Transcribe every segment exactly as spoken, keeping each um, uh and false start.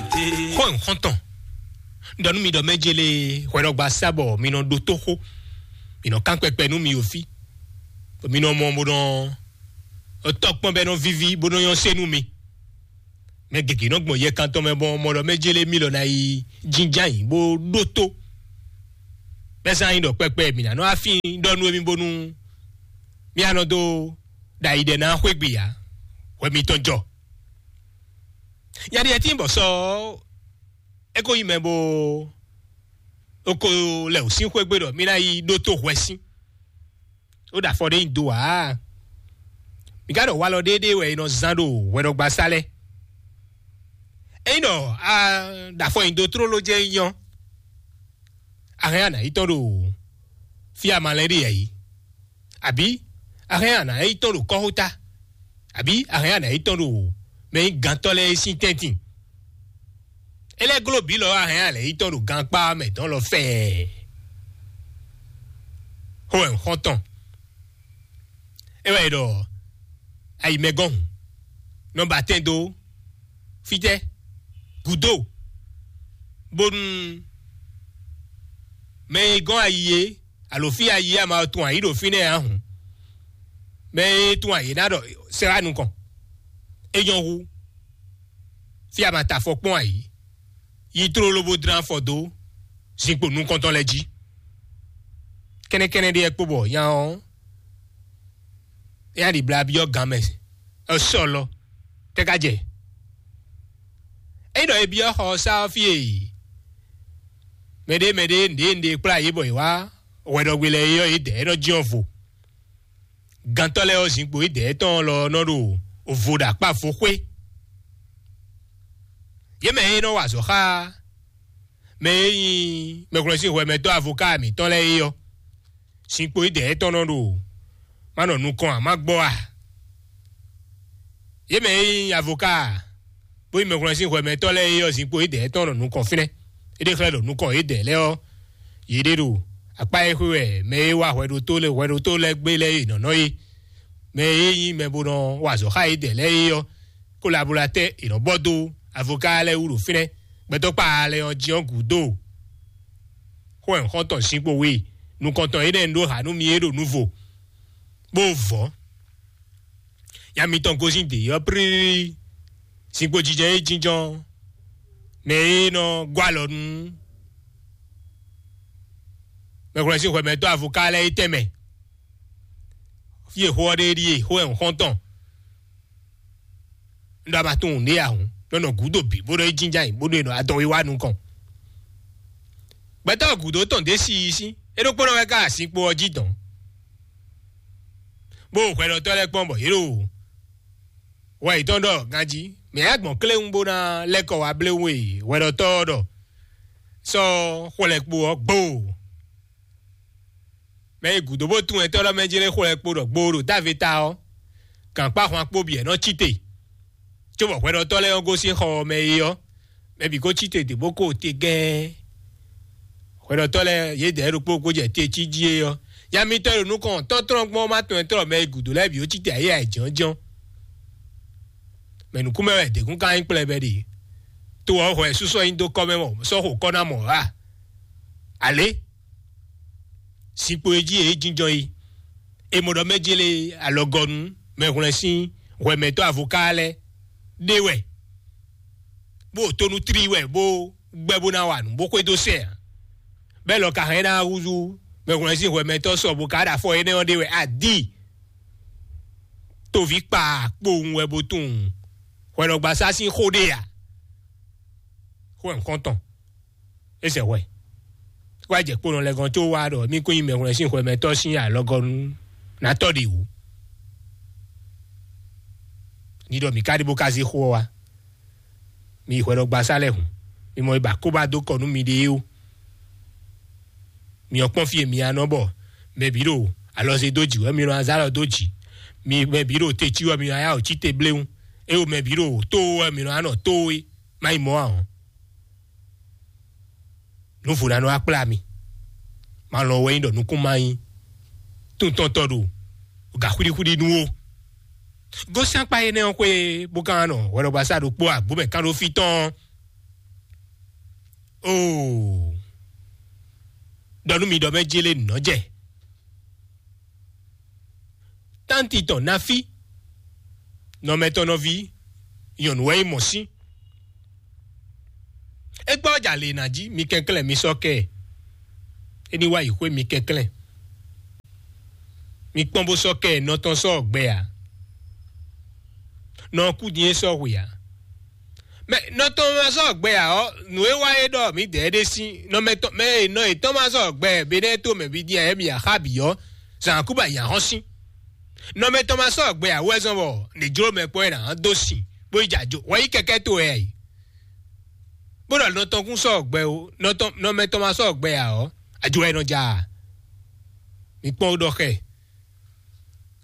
Xó e xɔ́ntɔn ɖɔ nú mi ɖɔ mɛ jele hwɛɖɔgba sa bɔ mi nɔ ɖótó xó, mi nɔ kán kpɛkpɛ nú mi o fí, mi nɔ mɔ bó nɔ tɔkpɔn bɛ nɔ víví bó nɔ nyɔ́ sé nú mi. Mɛ gěgé nɔ gbɔn yɛ kantɔn mɛ bɔ mɔ ɖɔ mɛ jele mi lɔ ná yi jínján yǐ bó ɖótó. Bɛ́ zán nyi ɖɔ kpɛkpɛ mi ná nɔ afín ɖɔ nú émí bónú mí a nɔ dó ɖo ayi ɖɛ ná xwé gbe ǎ, hwɛ mitɔn jɔ. Nya ɖi ɛtín bɔ sɔ é ko nyí mɛ bó é ko lɛ wǔ sín xwé gbe ɖɔ mí ná yi ɖótó hwɛ sín. Ó ɖo afɔ ɖé nyi do ǎ. Mi ka ɖɔ walɔ ɖéɖéé wɛ è nɔ zán ɖo hwɛɖɔgbasá lɛ́ɛ. Ényí ɖɔ a ɖo afɔ nyi do tlóló jɛ́n nyí ɔ́, a hɛn a nǎ yi tɔn ɖo fí a ma lɛ́ ɖe yɛ̌yi, abǐ a hɛn a nǎ yi tɔn ɖo kɔ́xota, abǐ a hɛn a nǎ yi tɔn ɖo mɛ nyí gantɔ́ lɛ́ɛ sín tɛ́ntin. É lɛ́ gló bǐ lɔ a hɛn a lɛ̌ yi tɔn ɖo gankpá mɛ dɔn lɔ fɛɛ. Xó wɛ un xɔ́n tɔn. É wɛ è ɖɔ ayǐmɛgɔ́n hǔn, nɔ ba tɛn dó fítɛ́ gǔdo, bónú mɛ e gɔ́n ayi é, alo fí ayi é a ma tunwun ayǐ ɖo fínɛ́ ǎ hǔn, mɛ e tunwun ayǐ é ná ɖɔ sɛ́ wá nukɔn. É nyɔ́ hú, fí a ma ta afɔ kpɔ́n ayǐ, yi tlóló bó dlán afɔ dó zinkpo nukɔntɔn lɛ́ɛ jí. Kɛ́nɛ́kɛ́nɛ́ ɖé wɛ kpo bɔ nya ɔ́, é ná ɖi bla byɔ́ gan mɛ ɔ́ sɔ lɔ tɛ́ ka jɛ. Ényí ɖɔ è byɔ́ xɔ ɔ́ sá ɔ́ fí e mɛɖé mɛɖé nǔɖé nǔɖé kplá yě bɔ yě wá hwɛɖɔgbe lɛ́ɛ é ɔ́, yě dɛ̌ é nɔ jyɔ́n vo. Gantɔ́ lɛ́ɛ ɔ́, zinkpo yě dɛ̌ tɔn lɔ nɔ ɖo vo ɖo akpá vo xwé. Yě mɛ e nɔ wa azɔ̌ xá mɛ e nyí mɛhwlɛ́nsínhwɛmɛtɔ́ avoká mǐtɔn lɛ́ɛ é ɔ́, zinkpo yě dɛ̌ tɔn nɔ ɖo má nɔ nukɔn ǎ, má gbɔ ǎ. Yě mɛ e nyí avoká bó nyí mɛhwlɛ́nsínhwɛmɛtɔ́ lɛ́ɛ é ɔ́, zinkpo yědɛɛ tɔn ɖo nukɔn fínɛ́. É ɖe xlɛ́ ɖo nukɔn yědɛɛ lɛ́ɛ ɔ́, yě ɖe ɖo akpá e xwé wɛ mɛ e wá hwɛɖótó lɛ́ɛ hwɛɖótó lɛ́ɛ gbé lɛ́ɛ e nɔ̌ nɔ é. Mɛ e nyí mɛ bo nɔ wa azɔ̌ xá yědɛɛ lɛ́ɛ é ɔ́, kolabolatɛ́ è nɔ bɔ dó avoká lɛ́ɛ wú ɖo fínɛ́. Gbɛtɔ́ kpa lɛ́ɛ ɔ́ jí ɔ́ gǔdo. Xó wɛ xɔ́ntɔn zinkpo we nukɔntɔn énɛ́ un ɖó ha nú mi é ɖo nuvo, bó vɔ̌. Ya mitɔn gosín dě ɔ́ plílílí, zinkpo jijɛ e jínjɔ́n, mɛ e nɔ gɔ́ alɔ nú mɛhwlɛ́sín hwɛmɛtɔ́ avoká lɛ́ɛ é tɛnmɛ. Fí e xó ɔ́ ɖe ɖíe, xó wɛ un xɔ́n tɔn. Un ɖɔ a ma tunwun nǔɖé ǎ hǔn, nɔ nɔ gǔdo bǐ bó nɔ yi jínjɔ́n ayǐ bó nɔ e nɔ adɔn wíwá nukɔn. Gbɛtɔ́ gǔdo tɔn ɖě si yi sín, é ɖokpónɔ wɛ ká azinkpo ɔ́ jí dɔn. Bó hwɛɖɔtɔ́ lɛ́ɛ kpɔ́n bɔ yě ɖo wɛ yětɔn ɖɔ ganjí, mɛ yá gbɔn kléwún bó ná lɛ́ kɔ wá bléwún e hwɛɖɔtɔ́ ɔ́ ɖɔ sɔ́ xwlɛkpo ɔ́ gboo. Mɛ e gǔdo bó tunwun ɛtɔ́ ɖɔ mɛ jlé xwlɛkpo ɖɔ gboo ɖo Davita ɔ́, gǎnkpá hwan kpó bǐ ɛ nɔ cí te. Cóbɔ hwɛɖɔtɔ́ lɛ́ɛ ɔ́ gosín xɔ ɔ́ mɛ é ɔ́, mɛ bǐ ko cí te dě bó ko te gɛ́ɛ́. Hwɛɖɔtɔ́ lɛ́ɛ yědɛɛ ɖokpó kó jɛ te cí jí é ɔ́, nya mitɔn e ɖo nukɔn tɔ́ntɔ́n gbɔn ɔ́ ma tunwun ɛtɔ́ ɖɔ mɛ e gǔdo lɛ́ɛ bǐ ó cí te ayé ayǐjɔ́njɔ́n. Mɛ nǔkún mɛ wɛ děkún ka nyí kplɛbɛ ɖe. To ɔ́ hwɛ súsɔ nyi dó kɔ mɛ mɔ sɔ́ xo kɔ ná mɔ ǎ. Alě zinkpo e jí yě jínjɔ́n yi. È mɔ ɖɔ mɛ jélé alɔgɔnu mɛhwlɛ́n sín hwɛmɛtɔ́ avoká lɛ́ɛ ɖé wɛ, bó tónú tlí wɛ bó gbɛ́ bó ná wa nǔ bó xwedó sɛn ǎ. Bɛ́ lɔ ka hɛn ná húzú mɛhwlɛ́n sín hwɛmɛtɔ́ sɔ bó ka ɖo afɔ énɛ́ ɔ́ ɖé wɛ a dǐ. Toví kpa kpowun wɛ bó tunwun hwɛɖɔgbasá sín xó ɖé a? Xó wɛ un xɔ́n tɔn. É sɛ hwɛ. Wá jɛ kponɔ lɛ gɔn có wá ɖɔ mí kún nyí mɛhwlɛ́n sín hwɛmɛtɔ́ sín alɔgɔnu ná tɔ́ ɖi wǔ. Ní ɖɔ mǐ ka ɖi bó ka zé xó ɔ́ wá. Mi yi hwɛɖɔgbasá lɛ́ɛ hǔn. Mi mɔ yi ba kó ba dó kɔ nú miɖée ó. Mi ɔ́ kpɔ́n fí e mi ya nɔ bɔ mɛ bǐ ɖo alɔze dó jǐ wɛ mi nɔ azá lɔ dó jǐ. Mi mɛ bǐ ɖo te cí wɛ mi nɔ ayá wǒ cí te bléwún. É wo mɛ bǐ ɖo tó wɛ mi nɔ anɔ tó é. Má yi mɔ̌ ǎ ɔ́. Nǔ vo ná nɔ wá kplá mi. Ma lɔn wɛ nyí ɖɔ nukún ma nyí. Tuntɔntɔ ɖo gǎ xwíɖíxwíɖí nú ó. Gosín akpá énɛ́ ɔ́ xwé bó ka nɔ hwɛɖɔgbasá ɖokpó agbǒ mɛ kán ɖó fí tɔn ɔ́. Oo, ɖɔ nú mi ɖɔ mɛ jélé nɔ́ jɛ. Tánti tɔn ná fí, nɔmɛtɔnɔví nyɔ̌nu wɛ nyí mɔ̌ sín. É gbɔ ɔ́ jalě ná jí, mi kɛnklɛ́n mi sɔ́ kɛ ɛ. É ní wá yi xwé mi kɛnklɛ́n. Mi kpɔ́n bó sɔ́ kɛ ɛ, nɔ tɔn sɔ́ ɔ́ gbɛ ǎ. Nɔ ɔ́ kú din é sɔ́ hwe ǎ. Mɛ nɔ tɔn ma sɔ́ ɔ́ gbɛ ǎ ɔ́, nǔ e wá é ɖɔ mǐdɛɛ ɖé sín nɔ mɛ tɔn mɛ e nɔ yětɔn ma sɔ́ ɔ́ gbɛ ǎ, benɛ́ to mɛ bǐ din ǎ, émí axá bǐ ɔ́, zǎn kú bɔ ayǐ ná hɔ́n sín. Nɔ mɛ tɔn ma sɔ́ ɔ́ gbɛ ǎ wú wɛ zɔ́n bɔ nǐ jló mɛ kpɔ́n é ná dó sin bó yi jɛ ajo wɛ yí kɛkɛ́ towe ǎ é. Bó ɖɔ nɔ tɔn kún sɔ́ ɔ́ gbɛ ó, nɔ tɔn nɔ mɛ tɔn ma sɔ́ ɔ́ gbɛ ǎ ɔ́, ajo wɛ é nɔ ja ǎ. Mi kpɔ́n ó ɖɔ xɛ.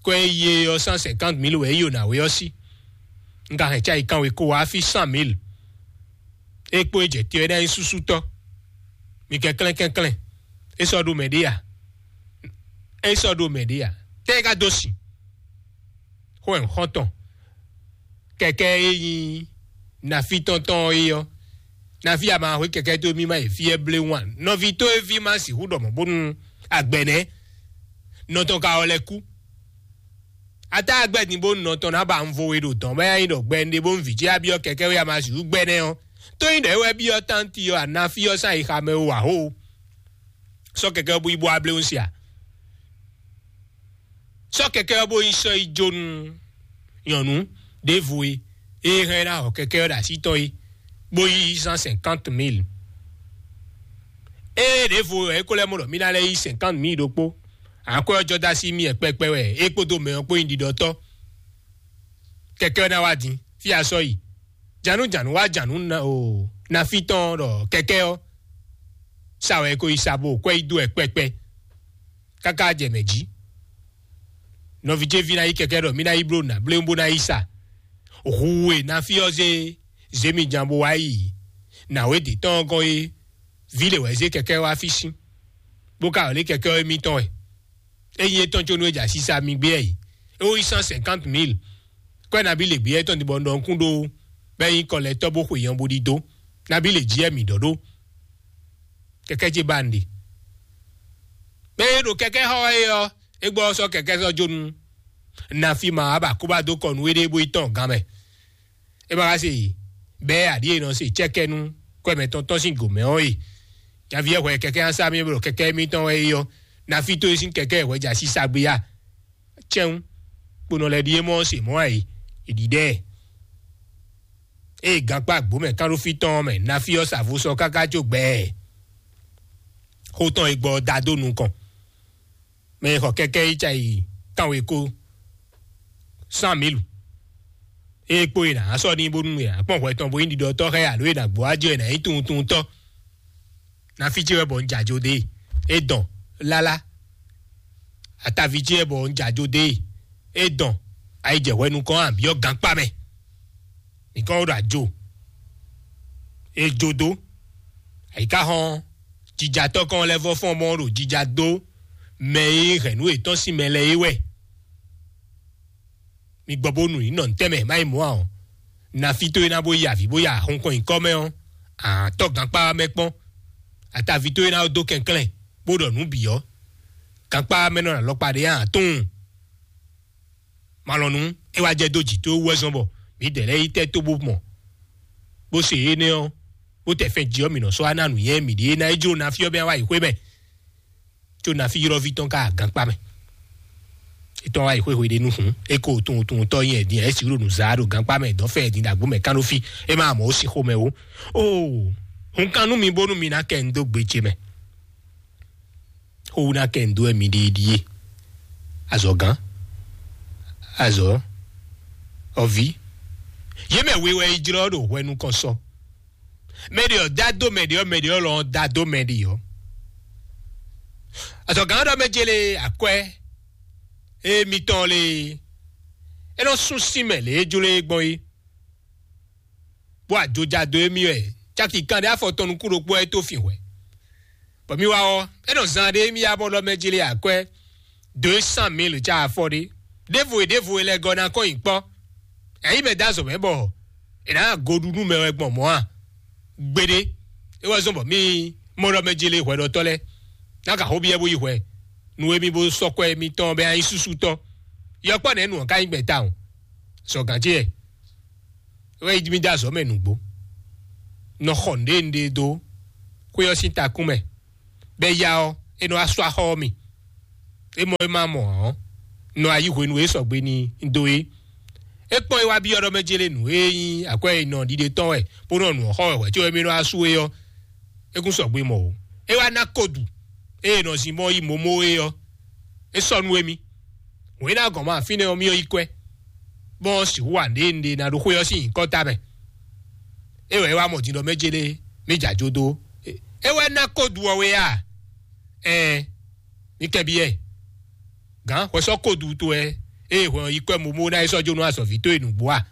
Kɔ e yi e ɔ́, cent cinquante mille wɛ é yi o nǎwe ɔ́ sí. Un ka hɛn cá yi kanwe kó wá fí cent mille. É kpó é jɛ te ɔ́, é ná nyí súsútɔ́. Mi kɛnklɛ́n kɛnklɛ́n. É sɔ́ ɖó mɛ ɖé a? É sɔ́ ɖó mɛ ɖé a? Tɛ́ é ka dó sin? Xó ɛ xɔ́ntɔn. Kɛkɛ e nyí nafi tɔn tɔn é ɔ́, nafi a ma hwe kɛkɛ tó mì ma yi fí ɛ blé wan. Nɔví tó e ví ma sixú ɖɔ mɔ̌ bónú agbɛnɛ nɔ tɔn ka ɔ lɛ kú. Ata agbɛ din bónú nɔ tɔn ná ba un vo we ɖo dɔn bá nyi ɖɔ gbɛ un ɖe bónú vǐ ce a byɔ́ kɛkɛ wé a ma sixú gbɛ nɛ́ ɔ́. Tó nyí ɖɔ é wɛ byɔ́ tánti ɔ́, anafi ɔ́ sán yi xamɛ o ǎ hó. Sɔ́ kɛkɛ ɔ́ bó yi bó wá blé un se a? Sɔ́ kɛkɛ ɔ́ bó yi sɔ́ yi jó nú nyɔ̌nu ɖěvo e é hɛn ná xɔ kɛkɛ ɔ́ ɖo así tɔn é, bó yí cent cinquante mille. Ée ɖěvo ɔ́, é ko lɛ́ mɔ ɖɔ mì ná lɛ́ yí cinquante mille ɖokpó, akwɛ́ ɔ́ jɔ dó así mì wɛ kpɛkpɛ wɛ é kpódó mɛ ɔ́ kpó nyí ɖiɖɔtɔ́. Kɛkɛ ɔ́ ná wá din, fí a sɔ́ yi. Jǎnú jǎnú wá jǎnú ná o, nafi tɔn ɖɔ kɛkɛ ɔ́ sa wɛ é ko yi sa bó kwɛ́ yi dó wɛ kpɛkpɛ. Káká jɛ mɛ jí. Nɔví ce ví ná yí kɛkɛ ɖɔ mì ná yi bló nǎ bléwún bó ná yi sa. Hu e nafi ɔ́ zé zémijǎn bó wá yi nǎwe dě tɔn ɔ́ gɔ́n é, vǐ lě wɛ zé kɛkɛ wá fí sín, bó ka wlí kɛkɛ ɔ́ émítɔn wɛ. Ényí é tɔn có nú é jɛ asisa mi gbé ɛ yi, é wó yí cent cinquante mille. Kɔ́ ɛ nabí lě gbé ɛ tɔn din bɔ un ɖɔ nukún ɖó bɔ é nyí kɔlɛtɔ́ bó xwe nyɔ̌ bó ɖidó. Nabí lě jí ɛ mǐ ɖɔ ɖó. Kɛkɛ́ ce ba un ɖe. Mɛ e ɖo kɛkɛ́ xɔ wɛ é ɔ́, é gbɔ ɔ́ sɔ́ kɛkɛ́ sɔ́ jó nú nafi ma wá ba kó ba dó kɔ nú éɖée bó yi tɔn gǎn mɛ. É ma ka se bɛ́ aɖǐ e nɔ se cɛ́kɛ́ nú kwɛ́ mɛtɔn tɔn sín gǒ mɛ ɔ́ e. Nyaví ɛ hwɛ kɛkɛ́ nya sá mì bɔ kɛkɛ́ émítɔn wɛ é ɔ́, nafi tó é sín kɛkɛ́ ɛ hwɛ jɛ asisa gbé ya. Cɛ́n kponɔ lɛ́ɛ ɖíe mɔ se mɔ̌ ǎ é, è ɖiɖɛ ɛ. Ée gankpá gbǒ mɛ kánɖófí tɔn ɔ́ mɛ, nafi ɔ́ sa vo sɔ káká jó gbɛɛ. Xó tɔn e gbɔ ɔ́ da dó nukɔn. Mɛ e xɔ kɛkɛ yi ca yi kanwe ko cent mille. Ée kpo e nǎ sɔ́ n'i bónú e nǎ kpɔn hwɛ tɔn bó nyí ɖiɖɔtɔ́ xá ɛ alo e nǎ gbó wá jɛ e nǎ nyí tunwuntunwuntɔ́. Nafi ce wɛ bɔ un jɛ ajo dó e. É dɔn lálá. Ataví ce wɛ bɔ un jɛ ajo dó e. É dɔn ayi jɛ hwɛ nukɔn a byɔ́ gankpá mɛ. Nìkan wó ɖo ajo. É jó dó. Àyíká xɔn jijatɔ́ kɔn lɛ́ vɔ fɔ́n mɔ ɖo jija dó mɛ e hɛn nǔ yětɔn sín mɛ lɛ́ɛ é wɛ. Mi gbɔ bónú ní nɔ ntɛ́nmɛ má yi mɔ̌ ǎ ɔ́, nafi tó e ná bó yi avǐ bó ya hunkɔn nyǐkɔ mɛ ɔ́, àtɔ́ gankpá mɛ kpɔ́n. Ataví tó e ná dó kɛnklɛ́n bó ɖɔ nǔ bǐ ɔ́, gankpá mɛ nɔ alɔkpa ɖé ǎ tunwun. Malɔnu é wá jɛ dó jǐ tó wú wɛ zɔn bɔ mǐdɛɛ lɛ́ɛ yi tɛ́ tó bó mɔ, bó se énɛ́ ɔ́, bó tɛ fɛn jí ɔ́, mǐ nɔ sɔ́ wá ná nǔnywɛ́ mǐɖée ná é jló nafi ɔ́ bɛ́ wá yi xwé mɛ. Có nafi ylɔ́ví tɔn ka gankpá mɛ. Etɔn wá yi xwé hweɖénu hǔn, é ko tunwun tunwun tɔ́ nyɛ din ɛ si ɖo nǔ zá ɖo gankpá mɛ dɔn fɛ din ɖagbo mɛ kánɖó fí. É má mɔ ó sin xomɛ ó. Oo, hun kan nú mi bónú mi ná kɛ un dó gbe ce mɛ. Xówú ná kɛ un dó wɛ mi ɖe ɖíe. Azɔ̌gán, azɔ̌, ɔví, yě mɛ we wɛ yi jlɔ́ ɖo hwɛ nukɔn sɔ. Mɛ ɖě ɔ́ dá dó mɛ ɖě ɔ́, mɛ ɖě ɔ́ lɔ ɔ́ dá dó mɛ ɖě ɔ́. Azɔ̌gán ɔ́ ɖɔ mɛ jélé akwɛ́ émitɔn lé, é nɔ sún sín mɛ lě e jló é gbɔn é. Bó ajojado émí wɛ, caki kanɖé afɔ tɔn nukún ɖokpó wɛ é tó fin hwɛ. Bɔ mi wá ɔ́, é nɔ zan ɖé émí ya bɔ ɖɔ mɛ jélé akwɛ́ deux cent mille ca afɔ ɖé. Ɖěvo e ɖěvo e lɛ gɔ́ ná kɔn nyi kpɔ́. Ɛ̌ nyí mɛ dó azɔ̌ mɛ bɔ è nǎ goɖu nú mɛ wɛ gbɔn mɔ̌ a? Gbeɖé. É wɛ zɔ́n bɔ mì mɔ ɖɔ mɛ jele hwɛɖɔtɔ́ lɛ́ɛ ná ka xó byɔ́ bó yi hwɛ nú émí bó sɔ́ kwɛ́ émítɔn bɔ é ná nyí súsú tɔn. Yɔkpɔ́ nɛ̌ nu ɔ́ ka nyí gbɛ̌ tawun? Sɔ gǎn ce wɛ. É wɛ yi mì dó azɔ̌ mɛ nǔgbó. Nɔ xɔ nǔɖé nǔɖé dó xwé ɔ́ sín takún mɛ, bɔ é ya ɔ́, é nɔ wá sú axɔ́ ɔ́ mi. É mɔ é ma mɔ ǎ ɔ́, nɔ ayí hwenu e sɔgbe ní dó é. É kpɔ́n é wá byɔ́ ɖɔ mɛ jélé nǔ e nyí akwɛ́ e nɔ ɖiɖe tɔn wɛ, bó nɔ nǔ ɔ́ xɔ wɛ hwɛ̌ có émí nɔ wá sú é ɔ́, é kún sɔgbe mɔ o. É wá ná kodu ée nɔ zin mɔ yi momo é ɔ́, é sɔ́ nú émí. Wěn ná gɔn ma fínɛ́ ɔ́, mì ɔ́ yi kwɛ́, bɔn sixú wa nǔɖé nǔɖé ná ɖó xwé ɔ́ sín nyǐkɔ ta mɛ. É wɛ é wá mɔ din ɖɔ mɛ jélé mì jɛ ajo dó. É wɛ ná kodu ɔ́ wé a? Ɛɛ, mi kɛnbyɔ́ ɛ. Gǎn hwɛ sɔ́ kodu towe, ée hwɛ ɔ́ yi kwɛ́ momo ná é sɔ́ jó nú azɔ̌ví towe nǔgbó a?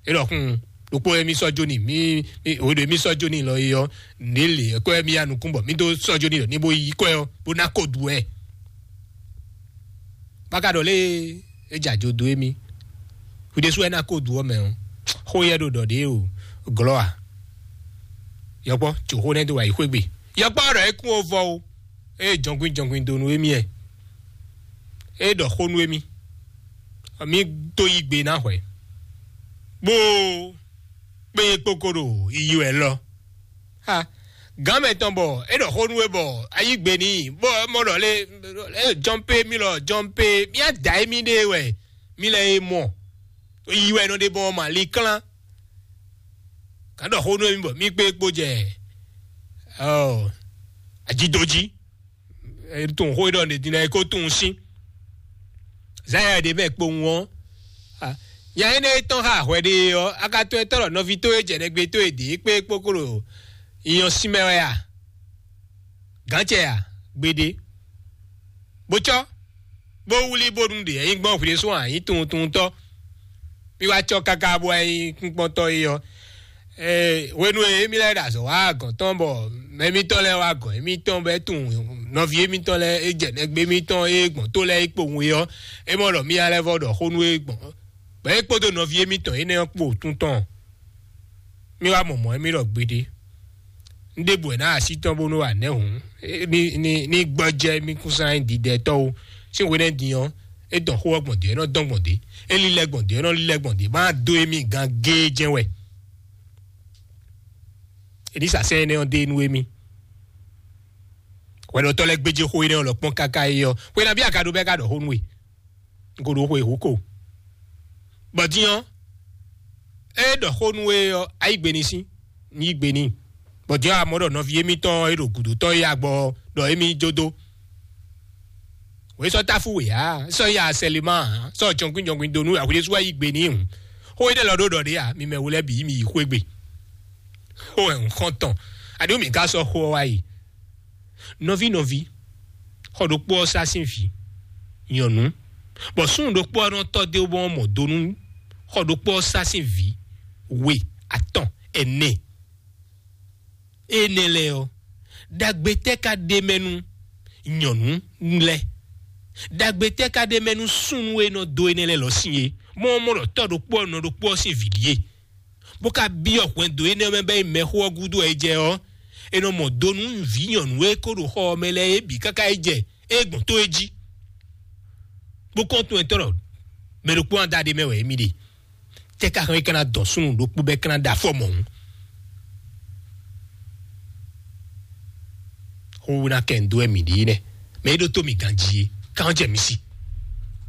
É ɖɔ hún, ɖokpó émí sɔ́ jó n'i, mí mí òɖo émí sɔ́ jó n'i lɔ é ɔ́, nǐ lě kwɛ́ mí ya nukún bɔ mí dó sɔ́ jó n'i ɖɔ ní bó yí kwɛ́ ɔ́ bó ná kodu ɛ. Bá ka ɖɔ lé é jɛ ajo dó émí. Hwi ɖésú wɛ ná kodu ɔ́ mɛ ɔ́, xó yɛ ɖo ɖɔ ɖě o glɔ́ a? Yɔkpɔ́ tso xó nɛ́ dó wá yi xwé gbe. Yɔkpɔ́ ɖɔ é kún ó vɔ o. Ée jɔnkwín jɔnkwín donu émí ɛ, é ɖɔ xó nú émí, mí dó yí gbe ná hwɛ̌, bó kpé kpókó ɖo yiyi wɛ lɔ. Ha, gǎn mɛtɔn bɔ é ɖɔ xó nú we bɔ a yí gbe n'i, bó mɔ ɖɔ lé, é jɔ́n pé mí lɔ jɔ́n pé mí á da émí ɖe wɛ mí lɛ é mɔ. Yi wɛ nɔ ɖe bɔ ma li klán. Gǎn ɖɔ xó nú émí bɔ mí kpé kpó jɛ ɔ ajidoji. Tunwun xó e ɖɔ nɛ din lɛ́ɛ é ko tunwun sín. Zayɛ ɖě mɛ kpowun ɔ́, nya énɛ́ e tɔ́n xá hwɛ ɖe ɔ́, a ka tunwun e tɔ́ ɖɔ nɔví towe jɛ nɛgbé towe ɖě kpé kpókplo nyɔ sín mɛ wɛ a? Gǎncɛ a? Gbeɖé. Bó cɔ́, bó wlí bónú ɖě nyí gbɔn hwǐɖésú ǎ nyí tunwuntunwuntɔ́. Mí wá cɔ́ káká bó wá nyí kúnkpɔ́ntɔ́ é ɔ́, hwenu e émí lɛ́ɛ ɖo azɔ̌ wá gɔ̌n tɔn bɔ mɛ émítɔn lɛ́ɛ wá gɔ̌n émítɔn bɔ é tunwun nɔví émítɔn lɛ́ɛ é jɛ nɛgbé émítɔn é gbɔn tó lɛ́ɛ é kpowun é ɔ́, é mɔ ɖɔ mí lɛ́ɛ vɔ ɖɔ xó nú é gbɔn, bɔ é kpódó nɔví émítɔn énɛ́ ɔ́ kpo tún tɔn. Mí wá mɔ mɔ̌ émí ɖɔ gbeɖé. Un ɖěbǔ wɛ ná así tɔn bónú wa nɛ̌ hǔn ní gbɔjɛ́ mí kún sán nyí didɛtɔ́ ó. Sín hwenɛ́ din ɔ́, é dɔn xó ɔ́ gbɔn dě, é nɔ dɔn gbɔn dě, é lílɛ́ gbɔn dě, é nɔ lílɛ́ gbɔn dě, má dó émí gán géé jɛ́n wɛ. Elisa sɛ́n énɛ́ ɔ́ dó e nú émí. Hwɛɖɔtɔ́ lɛ́ɛ gbéjé xó énɛ́ ɔ́ lɔ kpɔ́n káká é ɔ́, xwe nabí a ka ɖó bɛ́ ká ɖɔ xó nú we? Un ko ɖo xwe hǔ ko. Bɔ din ɔ́, é ɖɔ xó nú we ɔ́, a yí gbe n'i sín, un yí gbe n'i. Bɔ din ɔ́, a mɔ ɖɔ nɔví émítɔn e ɖo gǔdo tɔn é agbɔ ɔ́, ɖɔ émí jó dó. Wě sɔ́ táfú wě ǎ, sɔ́ ya sɛlema ǎ, sɔ́ jɔnkwín jɔnkwín dó nú ahwǐɖésú wá yí gbe n'i hǔn. Xó énɛ́ lɔ ɖó ɖɔ ɖě ǎ, mi mɛ wo lɛ́ɛ bǐ mi yi xwé gbe. Xó wɛ un xɔ́n tɔn, aɖǒ mǐ ka sɔ́ xó ɔ́ wá yi. Nɔví nɔví, xɔ ɖokpó ɔ́ sá sín vǐ nyɔ̌nu, bɔ súnnu ɖokpó ɔ́ nɔ tɔ́ dó bɔ mɔ do nú xɔ ɖokpó ɔ́ sá sín vǐ we, atɔn, ɛnɛ. Énɛ́ lɛ́ɛ ɔ́, ɖagbe tɛ́ ka ɖ'é mɛ nú nyɔ̌nu lɛ́ɛ? Ɖagbe tɛ́ ka ɖ'é mɛ nú súnnu e nɔ dó énɛ́ lɛ́ɛ lɔ sín é? Mɔ ɔ́ mɔ ɖɔ tɔ́ ɖokpó ɔ́ nɔ ɖokpó ɔ́ sín vǐ ɖíe, bó ka byɔ́ hwɛndo énɛ́ mɛ bɔ é mɛxó ɔ́ gúdo wɛ é jɛ ɔ́, è nɔ mɔ do nú vǐ nyɔ̌nu e ko ɖo xɔ ɔ́ mɛ lɛ́ɛ é bǐ káká é jɛ é gbɔn tó é jí. Bó kɔn tunwun etɔ́ ɖɔ mɛ ɖokpó ɔ́ da ɖ'é mɛ wɛ émí ɖe. Tɛ́ ka hɛn é ka ná dɔn súnnu ɖokpó bɔ é ka ná ɖe afɔ mɔ̌hun? Xó ná kɛ ń dó wɛ mǐ ɖe nɛ́, mɛ é ɖótó mǐ ganjí é, ká ɔ́ jɛ mǐ sí.